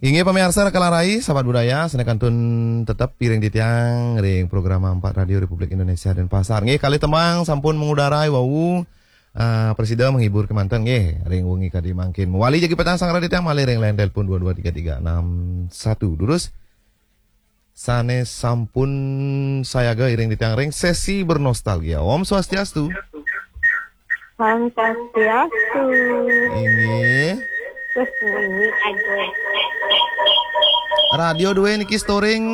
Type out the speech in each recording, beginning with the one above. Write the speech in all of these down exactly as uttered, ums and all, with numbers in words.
Inggih pamiarsa Raka Larai, sahabat budaya, sané kantun tetep piring titiang ring program Empat Radio Republik Indonesia Denpasar. Inggih kalih tembang sampun mangudara wau. Ah, prasida menghibur kemanten nggih ring wengi kadi mangkin. Mawali jagi pacang sanggra titiang malih ring line telepon dua dua tiga tiga enam satu. Durus sané sampun sayaga iring titiang ring sesi bernostalgia. Om Swastiastu. Om Swastiastu. Inggih. Terus bunyi aja. Radio dua niki storing.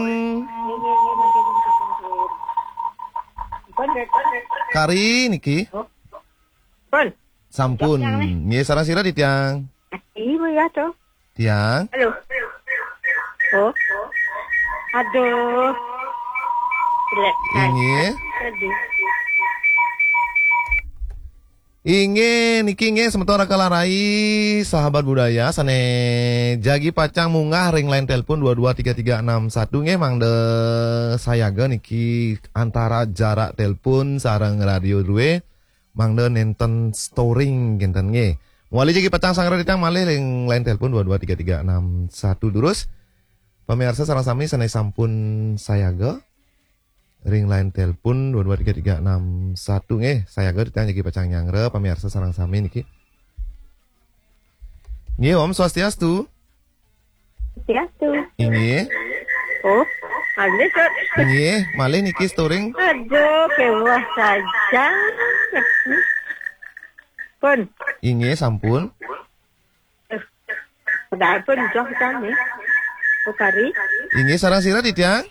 Kari niki. Pun. Sampun. Nggih, sareng sira titiang. Ibu ya tuh. Tiang. Halo. Oh. Aduh. Jelek. Inggih. Aduh. Inggih, niki nggih semeton Raka Larai, sahabat budaya sané jagi pacang munggah ring line telepon dua dua tiga tiga enam satu nggih, mangda sayaga niki antara jarak telepon sareng radio dua, mangda nénten storing kénten nggih. Mawali jagi pacang sanggra titiang malih ring line telepon dua dua tiga tiga enam satu. Durus pamiarsa sareng sami sané sampun sayaga ring line telepon dua dua tiga tiga enam satu nggih. Sayaga titiang jagi pacang nyanggra pamiarsa sareng sami niki. Nggih, Om Swastiastu. Swastiastu. Inggih. Oh, ada, Sot. Nggih, malih niki storing. Aduh, kewah saja. Pun. Inggih, sampun. Padahal pun joh kan nih. Ukari. Inggih, sareng sira titiang?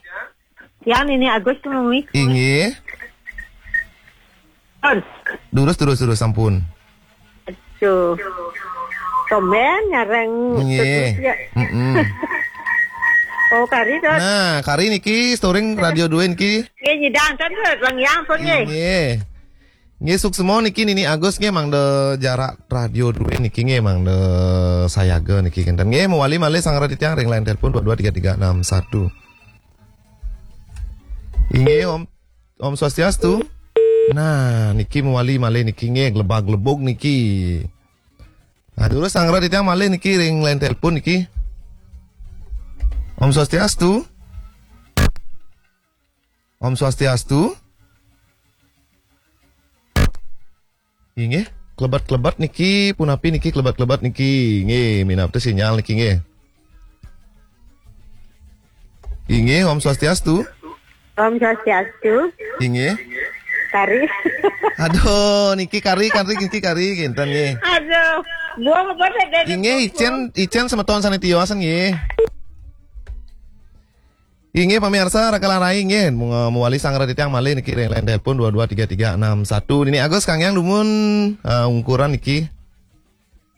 Tiang ini Agus Tumengwi. Inggih. Pun. Durus, durus, durus, sampun. Aduh. Tumben nyareng. Nggih. Terus ya. Mm-mm. Oh, kari, Dot. Nah, kari niki storing radio dua niki. Nggih, nyidang kan, Dot. Bang Yang pun nggih. Nggih. Nggih, suksma niki Nini Agus nggih, mangda jarak radio dua niki nggih, mangda sayaga niki kénten. Nggih, mawali malih sanggra titiang ring line telepon dua dua tiga tiga enam satu. Inggih, Om. Om Swastiastu. Nah, niki mawali malih niki nggih, glebag-glebug niki. Nah, durus sanggra titiang malih niki ring line telepon niki. Om Swastiastu. Om Swastiastu. Inggih, klebet-klebet niki, punapi niki klebet-klebet niki. Nggih, minab téh sinyal niki nggih. Inggih, Om Swastiastu. Om Swastiastu. Inggih. Kari. Aduh, niki kari, kari, niki kari, kinten nggih. Aduh, buang apa teh dari Inggih, icén, icén semeton sané tiosan nggih. Inggih pamiarsa Raka Larai nggih, mung-, mawali sanggra titiang malih niki ring line telepon dua dua tiga tiga enam satu. Nini Agus Kang Yang dumun, eh, ungkuran niki.